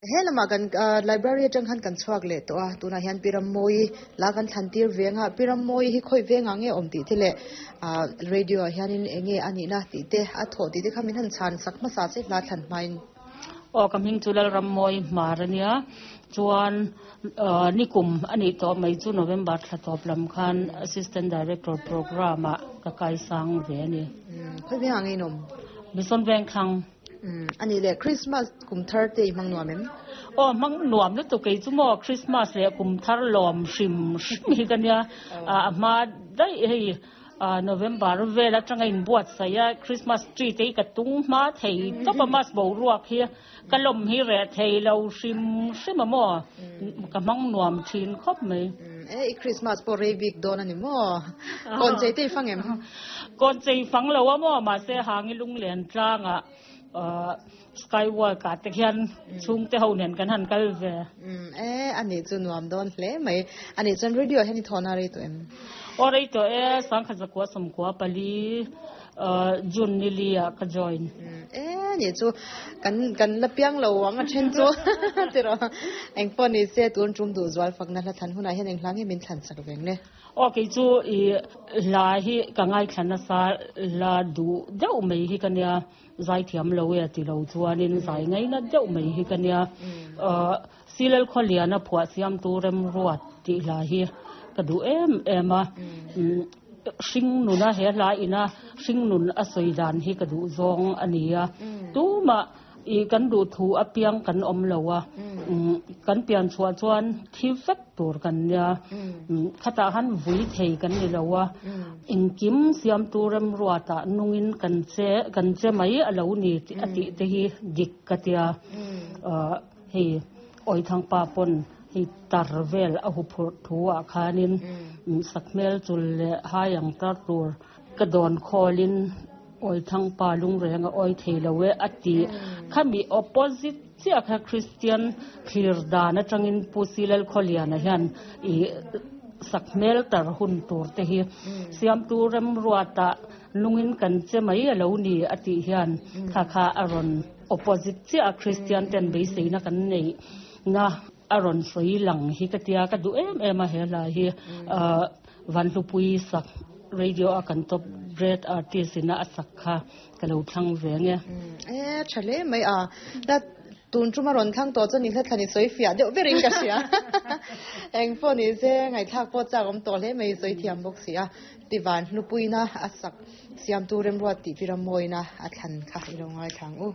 He lamah kan library atang khan kan chhuak leh tawh a, tunah hian Pi Rammawi la kan thlan tir veng a, Pi Rammawi hi khawi vengah nge awm tih te leh ah radio ah hianin eng nge a nihna tih te a thawh tih te kha min han chhan sak hmasa che hla thlan hmain. Aw ka hming chu Lalrammawi Hmar a nia, chuan nikum a nih tawh mai chu November thla tawp lam khan Assistant Director Programme ah ka kaisang ve a ni. Khawi vengah nge in awm? Mission Vengthlang. A nih leh Christmas kum thar te i hmang nuam em? Aw hmang nuam lutuk kei chu maw Christmas leh kum thar lawm hrim hrim hi ka nia a hma daih hei November vel atanga inbuatsaih a Christmas tree te hi ka tung hma thei tawp a mas boruak hi ka lawm hi reh thei lo hrim hrim a maw ka hmang nuam thin khawp mai. E i Christmas pawh rei bik dawn a ni maw? Kawn chei te i fang em? Kawn chei fang lo a maw mahse hangi lunglen tlangah skywalk ah te khian chhungte ho nen kan han kal ve. E a nih chu nuam dawn hle mai. A nih chuan radio hian i thawhna rei tawh em? Aw rei tawh e, sangkhat zakua sawmkua pali June nili ah ka join. E nih chu kan kan la piang lo ang a then chu tiraw. Engpawh ni se tun tum duh zual fakna hla thlan hunah hian eng hla nge min thlan sak veng le? Aw kei chu i hla hi ka ngaithla nasa la duh deuh mai hi ka nia zaithiam lo e ti lo chuanin zai ngaina deuh mai hi ka nia Silal Khawliana phuah siamtu Remruat tih hla hi ka duh em em a hring nuna he hla ina hring nun a sawi dan hi ka duh zawng a ni a tumah I kan duh thu apiang kan awm lo a, kan pian chhuah chuan thi vek tur kan nia, khatah khan vui thei kan ni lo a, engkim siamtu remruatah nungin kan che kan che mai a lo ni a tih te hi dik ka tia, hei Awithangpa pawn hei tar vel a huphurh thu ah khanin sakhmel chul leh hai ang tar tur Ka dawn khawlin Awithangpa lungreng a awi thei lo e a ti. Khami opposite chiah kha Kristian thlir dan atangin Pu Silal Khawliana hian i sakhmel tar hun tur te hi siamtu remruatah nungin kan che mai a lo ni a tih hian kha kha a rawn opposite chiah a Kristian ten beiseina kan neih na a rawn sawi lang hi ka tia ka duh em em a he hla hi Vanhlupui sak radio a kan top great artist ina a sak kha ka lo thlang ve nge. E tha hle mai a la tun tuma rawn thlang tawh chuan i hla thlan i sawi fiah deuh berin ka hria eng pawh ni se ngaihthlak pawh chak awm tawh hle mai i sawi thiam bawk si a ti Vanhlupuina a sak siamtu remruat tih pi Rammawina a thlan kha i lo ngaithla ang u.